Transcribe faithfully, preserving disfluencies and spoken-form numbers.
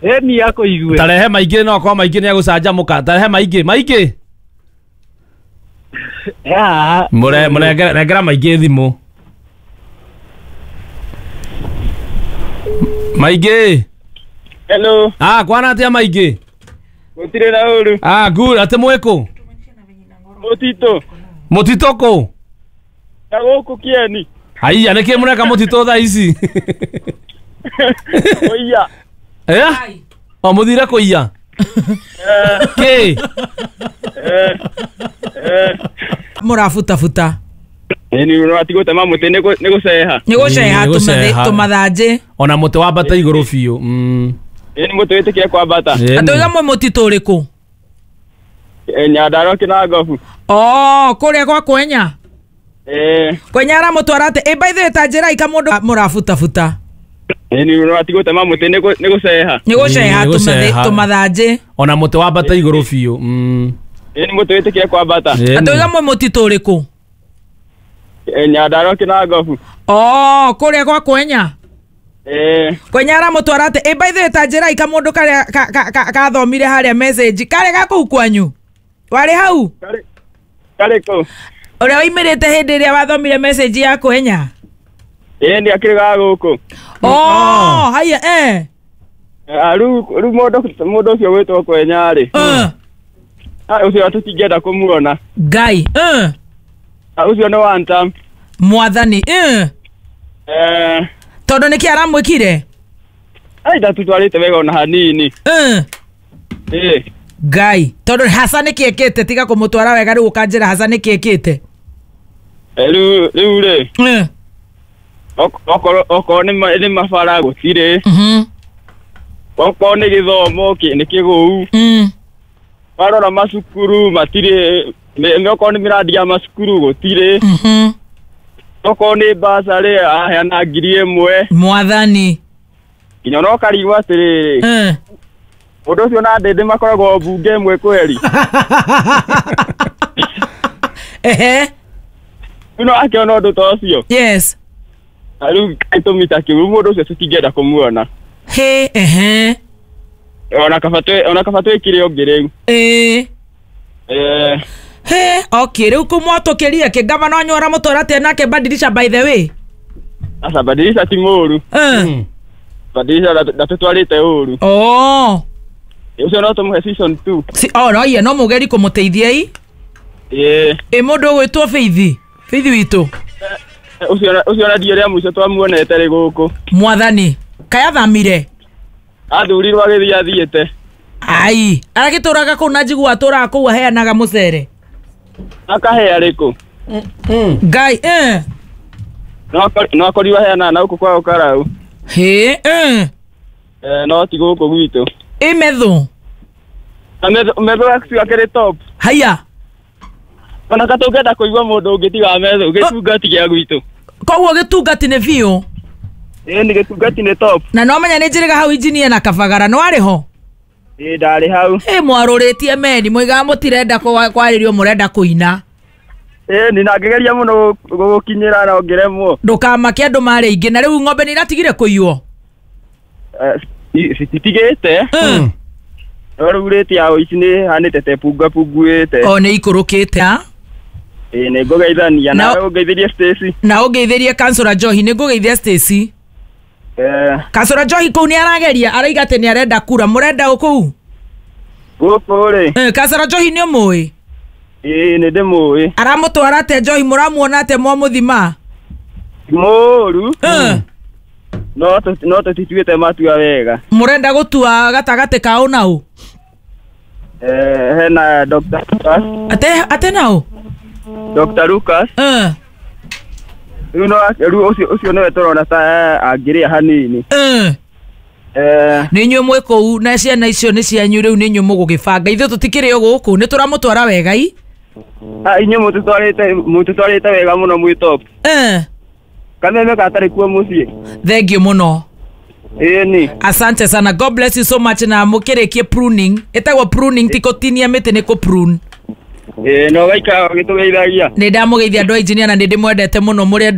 Eni yako igue. Tarehe maingĩ no kwa maingĩ nĩ agũcanjamũka. Tarehe maingĩ, maingĩ. Ya. Mũre mũrengera rengera maingĩ thimũ. Maingĩ. Hello. Ah, kwana atia maingĩ? Gũtirĩ na ũru. Ah, good, atĩ mwĩkũ? Mũtitũ. Mũtitũ kũ? Na gũkũ Kieni. Haiya, nĩkĩ mũreka mũtitũ thaa ici? Kũiya. Eh? O mũthire kũiya? Kĩ? Mũrabutabuta. Ĩni ũrati gũtema mũtĩ nĩ gũceha. Nĩ gũceha tũmathanjĩ. Ona mũtĩ wambata igũrũ biũ. Mm. Ĩni mũtĩ wĩtĩkire kwambata. Atũiga mwe mũtitũ ũrĩkũ? Nyandarua Kĩnangobu. Oh, kũrĩa gwa Kwenya? Eh. Kwenya aramũtwara atĩ ĩ by the way ta njĩra ika mũndũ mũrabutabuta. Ĩni ũrati gũtema mũtĩ nĩ gũceha. Nĩ gũceha tũmathanjĩ. Ona mũtĩ wambata igũrũ biũ. Mm. Ĩni mũtĩ wĩtĩkire kwambata. Atũiga mwe mũtitũ ũrĩkũ? Nyandarua Kĩnangobu. Oh, kũrĩa gwa Kwenya? Eh. Kwenya aramũtwara atĩ ĩ by the way ta njĩra ika mũndũ karĩa kathomire harĩa message karĩa ga kũu kwanyu? Warĩ hau? Karĩ kũ? Ũrĩa waimĩrĩte hĩndĩ ĩrĩa wathomire message ya Kwenya? Ĩĩ nĩ akĩrĩ ga gũkũ. Oh, haya eh. Rĩu rĩu mũndũ mũndũ ũcio wĩtwo Kwenya rĩ. Eh. Ah, ũcio tũtingĩenda kũmuona. Ngai. Eh. Ah, ũcio nĩ one term. Mwathani. Eh. Eh. Tondũ nĩkĩ aramwĩkire? Ai ndatũtwarĩte wega ona hanini. Eh. Eh. Ngai. Tondũ hasa nĩkĩ ekĩte tiga kũmũtwara wega rĩu ũkanjĩra hasa nĩkĩ ekĩte? Rĩu rĩu rĩ. Eh. Okorwo okorwo nĩ mabara gũtirĩ. Mhm. Okorwo nĩ gĩthomo nĩ kĩgũu. Mm. Warora macukuru matirĩ, okorwo nĩ mĩrandi ya macukuru gũtirĩ. Mhm. Okorwo nĩ basarĩ aheana ngiri ĩmwe. Mwathani. Nginya no karigwo atĩrĩrĩ. Eh. Mũndũ ũcio na Ndĩndĩ makoragwo mbunge ĩmwe kweri. Ehe. Rĩu no akĩona ũndũ ta ũcio. Yes. Rĩu gĩtũmi ta kĩu mũndũ ũcio tũtingĩenda kũmuona. He ehe. Ona kaba ona kaba twĩkire ũngĩ rĩu. Ĩĩ. Eh. He, okay, rĩu kũmwatũkĩria kĩ gavana wanyu aramũtwara atĩa nake Badilisha by the way? Aca Badilisha ti mũũru. Eh. Badilisha ndatũtwarĩte ũru. Oh. Ũcio no tũmũhe season two. Si, oh no, iye no mũgeri kũmũteithia i. Ĩĩ. Ĩ mũndũ ũgwĩtwo Faith. Faith witũ. Ũcio ũcio na ndiĩ rĩa mũico twamuonete rĩ gũkũ. Mwathani, kayathamire. Athurirwo agĩthiĩ athiĩte. Ai, aragĩtũraga kũu na njigua atũraga kũu aheanaga mũcere. Akahea rĩkũ? Ngai, eh. No akorirwo aheanaga na gũkũ kwao Karau. Hĩ, eh. Eh, no ti gũkũ gwitũ. Ĩ metho. Na metho metho akĩrĩ top. Haya. Ona katũngĩenda kũigua mũndũ ũngĩ tiga metho gĩtungati gĩa gwitũ. Koguo gĩtungati nĩ biũ. Ĩĩ nĩ gĩtungati nĩ top. Na no menya nĩ njĩrĩga hau injinia na Kabagara no arĩ ho? Ĩĩ ndarĩ hau. Ĩ mwarũrĩtie meni mũigaga mũtirenda kwarĩrio mũrenda kũina. Ĩĩ nĩ na ngĩgeria mũno gũgũkinyĩra na ngĩremwo. Ndũkamake andũ marĩ aingĩ na rĩu ng'ombe nĩ iratigire kũiywo? Cititigĩte. No rĩu rĩti ya ũici nĩ ĩhanĩte ta ĩpungapunguĩte. O nĩ ikũrũkĩte. Ĩĩ nĩ ngũgeithania nawe ũngeithĩrie Stacy. Na ũngeithĩrie Kansũra Njohi nĩ ngũgeithia Stacy. Eh. Kansũra Njohi kũu nĩ arageria araiga atĩ nĩ arenda kura mũrenda ũ kũu? Gũkũ rĩ. Eh, Kansũra Njohi nĩ ũmũĩ? Ĩĩ nĩ ndĩmũĩ. Aramũtwara atĩa Njohi mũramuona atĩa mwamũthima? Mũũru. Eh. No no tũtituĩte matua wega. Mũrenda gũtua gatagatĩ ka ũ na ũ? Eh, hena Doctor Lucas. Ate ate na ũ? Doctor Lucas. Eh. Rĩu no rĩu ũcio ũcio nĩwe tũrona ta angĩrĩa hanini. Eh. Eh. Nĩ inyuĩ mwĩ kũu na ciana icio nĩ cianyu rĩu nĩ inyuĩ mũgũgĩbanga ithuĩ tũtikĩrĩ o gũkũ nĩ tũramũtwara wega i? Ah, inyuĩ mũtũtwarĩte mũtũtwarĩte wega mũno mwĩ top. Eh. Kameme gatarĩ kuo mũciĩ. Thank you mũno. Ĩĩ ni. Asante sana. God bless you so much na mũkĩrĩkie pruning. Ĩtagwo pruning ti kũtinia mĩtĩ nĩ kũ prune. Ĩĩ no gaikara ũgĩtũgeithagia. Nĩ ndamũgeithia andũ a engineer na nĩ ndĩmwendete mũno mũrĩ